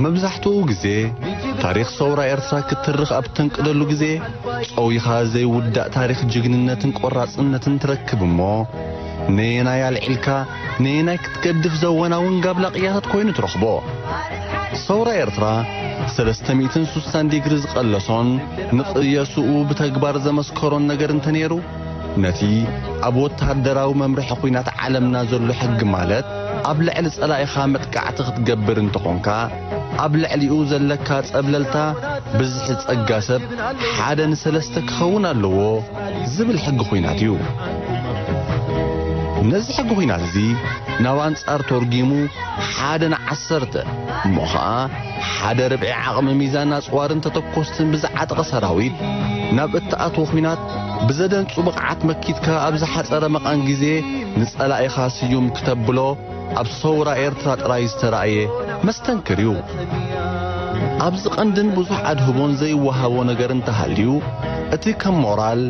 መብዛሕትኡ ግዜ ታሪኽ ሰውራ ኤርትራ ክትርኽ ኣብ ተንቅደሉ ግዜ ጸዊኻ ዘይውዳእ ታሪኽ ጅግንነትን ቆራጽነትን ትረክብ እሞ፣ ነየናይ ኣልዒልካ ነየናይ ክትገድፍ ዘወናውን ጋብላ ቅያታት ኮይኑ ትረኽቦ። ሰውራ ኤርትራ ሰለስተ ሚእትን ሱሳን ዲግሪ ዝቐለሶን ንቅየስኡ ብተግባር ዘመስከሮን ነገር እንተነይሩ፣ ነቲ ኣብ ወተሃደራዊ መምርሒ ኲናት ዓለምና ዘሎ ሕጊ፣ ማለት ኣብ ልዕሊ ጸላኢኻ መጥቃዕቲ ክትገብር እንተኾንካ፣ ኣብ ልዕሊኡ ዘለካ ጸብለልታ ብዝሒ ጸጋ ሰብ ሓደ ንሰለስተ ክኸውን ኣለዎ ዝብል ሕጊ ኲናት እዩ። ነዚ ሕጊ ኲናት እዚ ናብ ኣንጻር ተርጒሙ፣ ሓደ ንዓሰርተ እሞ ኸኣ ሓደ ርብዒ ዓቕሚ ሚዛን ኣጽዋርን ተተኮስትን ብዝዓጠቐ ሰራዊት፣ ናብ እትኣትዎ ኲናት ብዘደንጹ ብቕዓት መኪትካ ኣብ ዝሓጸረ መቓን ግዜ ንጸላኢኻ ስዩም ክተብሎ ኣብ ሰውራ ኤርትራ ጥራይ ዝተራእየ መስተንክር እዩ። ኣብዚ ቀንድን ብዙሕ ኣድህቦን ዘይወሃቦ ነገር እንተሃልዩ፣ እቲ ከም ሞራል፣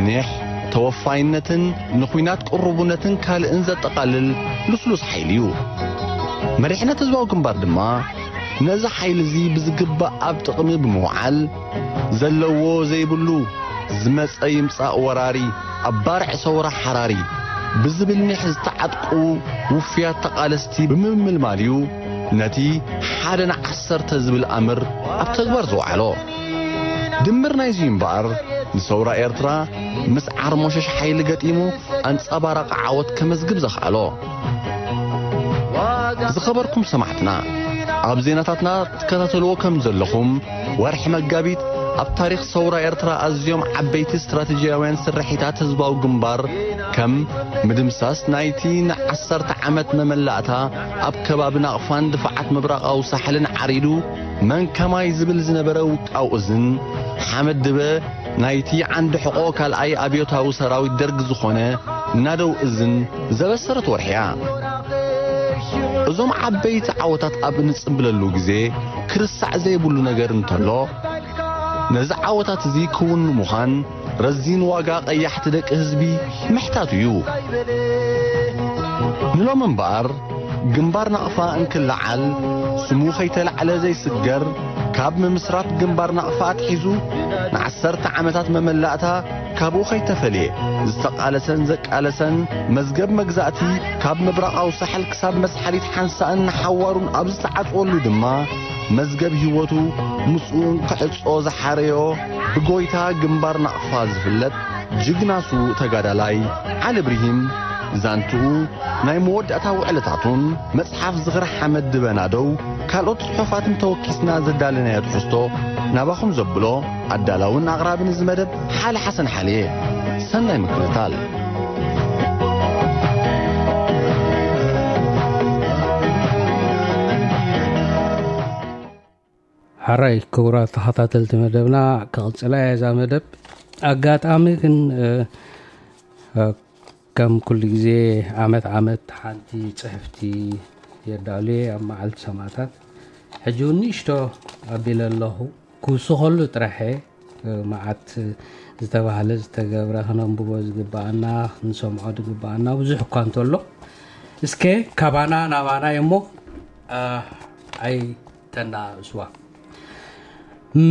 ኒሕ፣ ተወፋይነትን ንኲናት ቅሩብነትን ካልእን ዘጠቓልል ልስሉስ ሓይሊ እዩ። መሪሕነት ህዝባዊ ግንባር ድማ ነዚ ሓይሊ እዚ ብዝግባእ ኣብ ጥቕሚ ብምውዓል፣ ዘለዎ ዘይብሉ ዝመጸ ይምጻእ ወራሪ፣ ኣብ ባርዕ ሰውራ ሓራሪ ብዝብል ኒሕ ዝተዓጥቁ ውፍያት ተቓለስቲ ብምምልማል እዩ ነቲ ሓደ ንዓሰርተ ዝብል ኣምር ኣብ ተግባር ዝወዓሎ። ድምር ናይዚ እምበኣር፣ ንሰውራ ኤርትራ ምስ ዓርሞሸሽ ሓይሊ ገጢሙ ኣንጸባራቒ ዓወት ከመዝግብ ዘኽኣሎ። ዝኸበርኩም ሰማዕትና፣ ኣብ ዜናታትና ትከታተልዎ ከም ዘለኹም፣ ወርሒ መጋቢት ኣብ ታሪኽ ሰውራ ኤርትራ ኣዝዮም ዓበይቲ ስትራቴጂያውያን ስርሒታት ህዝባዊ ግንባር፣ ከም ምድምሳስ ናይቲ ንዓሰርተ ዓመት መመላእታ ኣብ ከባቢ ናቕፋን ድፋዓት ምብራቓዊ ሳሕልን ዓሪዱ፣ መን ከማይ ዝብል ዝነበረ ውቃው እዝን፣ ሓመድ ድበ ናይቲ ዓንዲ ሕቖ ካልኣይ ኣብዮታዊ ሰራዊት ደርግ ዝኾነ ናደው እዝን ዘበሰረት ወርሒ እያ። እዞም ዓበይቲ ዓወታት ኣብ እንጽምብለሉ ግዜ፣ ክርስዕ ዘይብሉ ነገር እንተሎ፣ ነዚ ዓወታት እዚ ክውን ንምዃን ረዚን ዋጋ ቀያሕቲ ደቂ ህዝቢ ምሕታቱ እዩ። ንሎም እምበኣር፣ ግንባር ናቕፋ እንክለዓል፣ ስሙ ከይተላዕለ ዘይስገር፣ ካብ ምምስራት ግንባር ናቕፋ ኣትሒዙ ንዓሰርተ ዓመታት መመላእታ ካብኡ ከይተፈልየ ዝተቓለሰን ዘቃለሰን፣ መዝገብ መግዛእቲ ካብ ምብራቓዊ ሳሕል ክሳብ መስሓሊት ሓንሳእን ንሓዋሩን ኣብ ዝተዓጽወሉ ድማ፣ መዝገብ ህይወቱ ምስኡ እንክዕጾ ዝሓረዮ፣ ብጎይታ ግንባር ናቕፋ ዝፍለጥ ጅግና ስዉእ ተጋዳላይ ዓሊ ብርሂም፣ ዛንትኡ፣ ናይ መወዳእታ ውዕለታቱን መጽሓፍ ዝኽሪ ሓመድ ድበ ናደው፣ ካልኦት ጽሑፋትን ተወኪስና ዘዳለናዮ ትሕዝቶ ናባኹም ዘብሎ ኣዳላውን ኣቕራብን እዚ መደብ ሓለ ሓሰን ሓልየ። ሰናይ ምክትታል። ሓራይ ክቡራት ተኸታተልቲ መደብና፣ ክቕጽላ እያ እዛ መደብ። ኣጋጣሚ ግን፣ እ፣ እ፣ ከም ኩሉ ግዜ ዓመት ዓመት ሓንቲ ጽሕፍቲ የዳሉየ ኣብ መዓልቲ ሰማእታት። ሕጂ እውን ንእሽቶ ኣቢለ ኣለኹ። ክውስኸሉ ጥራሕ እየ። እ፣ መዓት ዝተባህለ ዝተገብረ ክነንብቦ ዝግብኣና፣ ክንሰምዖ ዝግብኣና ብዙሕ እኳ እንተሎ፣ እስከ ካባና ናባና እሞ፣ እ፣ ኣይተናእስዋ።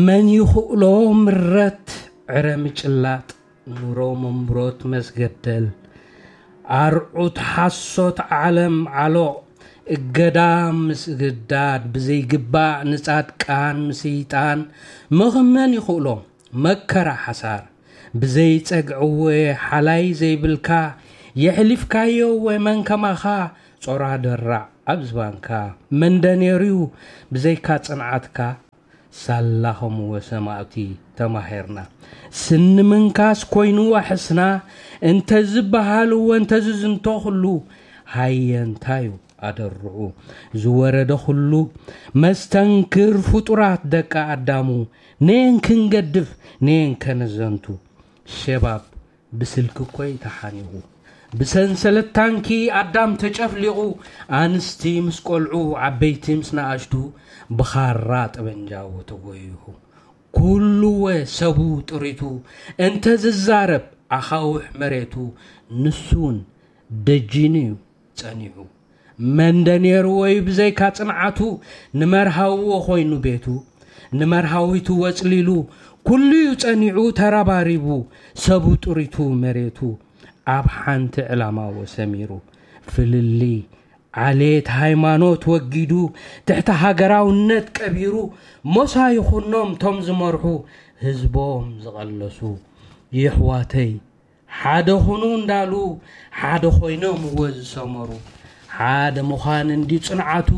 መን ይኽእሎ ምረት ዕረ ምጭላጥ፣ ኑሮ መንብሮት መስገደል፣ ኣርዑት ሓሶት ዓለም ዓሎቕ፣ እገዳ ምስግዳድ፣ ብዘይግባእ ንጻድቃን ምስይጣን፣ ምኽመን ይኽእሎ መከራ ሓሳር፣ ብዘይጸግዕወ ሓላይ ዘይብልካ፣ የሕሊፍካዮ ወ መን ከማኻ፣ ጾራ ደራዕ ኣብ ዝባንካ፣ መንደ ነይሩዩ ብዘይካ ጽንዓትካ፣ ሳላ ኸምወ ሰማእቲ ተማሂርና። ስኒ ምንካስ ኮይንዎ ሕስና፣ እንተ ዝበሃል እወ እንተ ዝዝንቶ ኹሉ፣ ሃየ እንታዩ ኣደርዑ ዝወረደ ኹሉ፣ መስተንክር ፍጡራት ደቂ ኣዳሙ፣ ነየን ክንገድፍ፣ ነየን ከነዘንቱ። ሸባብ ብስልኪ እኮይ ተሓኒቑ። ብሰንሰለት ታንኪ ኣዳም ተጨፍሊቑ፣ ኣንስቲ ምስ ቆልዑ፣ ዓበይቲ ምስ ነኣሽቱ፣ ብኻራ ጠበንጃ ተጎይሑ። ኩሉወ ሰቡ ጥሪቱ እንተ ዝዛረብ ኣኻውሕ መሬቱ፣ ንሱውን ደጂኑ እዩ ጸኒሑ። መንደ ነይሩ ወይ ብዘይካ ጽንዓቱ ንመርሃውዎ ኮይኑ ቤቱ ንመርሃዊቱ ወጽሊሉ ኩሉዩ ጸኒዑ ተራባሪቡ ሰቡ ጥሪቱ መሬቱ ኣብ ሓንቲ ዕላማ ወሰሚሩ ፍልሊ ዓሌት ሃይማኖት ወጊዱ ትሕቲ ሃገራውነት ቀቢሩ ሞሳ ይኹኖም ቶም ዝመርሑ ህዝቦም ዝቐለሱ ይሕዋተይ ሓደ ኹኑ እንዳሉ ሓደ ኮይኖም እወ ዝሰመሩ ሓደ ምዃን እንዲ ጽንዓቱ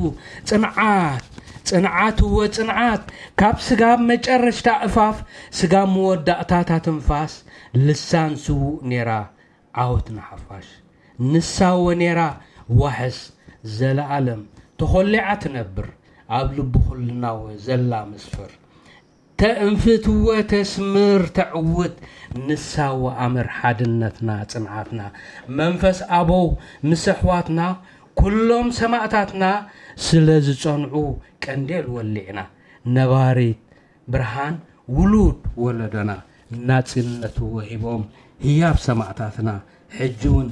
ጽንዓት ጽንዓት እወ ጽንዓት ካብ ስጋብ መጨረሽታ እፋፍ ስጋብ መወዳእታታ ትንፋስ ልሳን ስዉእ ኔራ ዓወት ንሓፋሽ ንሳ እወ ኔራ ዋሕስ ዘለኣለም ተኾሊዓ ትነብር ኣብ ልቢ ኩልና እወ ዘላ መስፍር ተእንፍት እወ ተስምር ተዕውት ንሳ እወ ኣምር ሓድነትና ጽንዓትና መንፈስ ኣበው ምስ ኣሕዋትና ኩሎም ሰማእታትና ስለ ዝጸንዑ ቀንዴል ወሊዕና ነባሪት ብርሃን ውሉድ ወለዶና ናጽነት ወሂቦም ህያብ ሰማእታትና ሕጂ እውን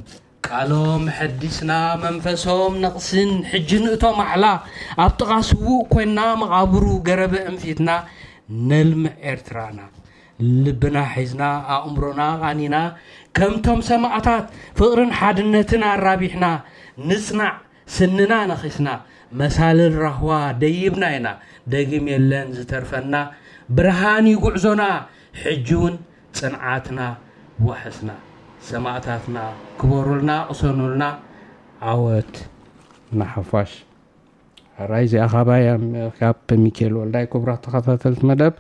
ቃሎም ሐዲስና መንፈሶም ነቕስን ሕጂ ንእቶ ማዕላ ኣብ ጥቓ ስዉእ ኮይና መቓብሩ ገረበ እንፊትና ነልምዕ ኤርትራና ልብና ሒዝና ኣእምሮና ቓኒና ከምቶም ሰማእታት ፍቕርን ሓድነትን ኣራቢሕና ንጽናዕ ስንና ነኺስና መሳልል ራህዋ ደይብና ኢና ደግም የለን ዝተርፈና ብርሃን እዩ ጉዕዞና ሕጂ እውን ጽንዓትና ዋሕስና ሰማእታትና ክበሩልና ቅሰኑልና ዓወት ንሓፋሽ ራይ እዚኣ ካባይ ካብ ሚካኤል ወልዳይ ክቡራት ተኸታተልቲ መደብ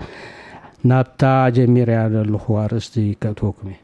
ናብታ ጀሚርያ ዘለኹ ኣርእስቲ ከእትወኩም እየ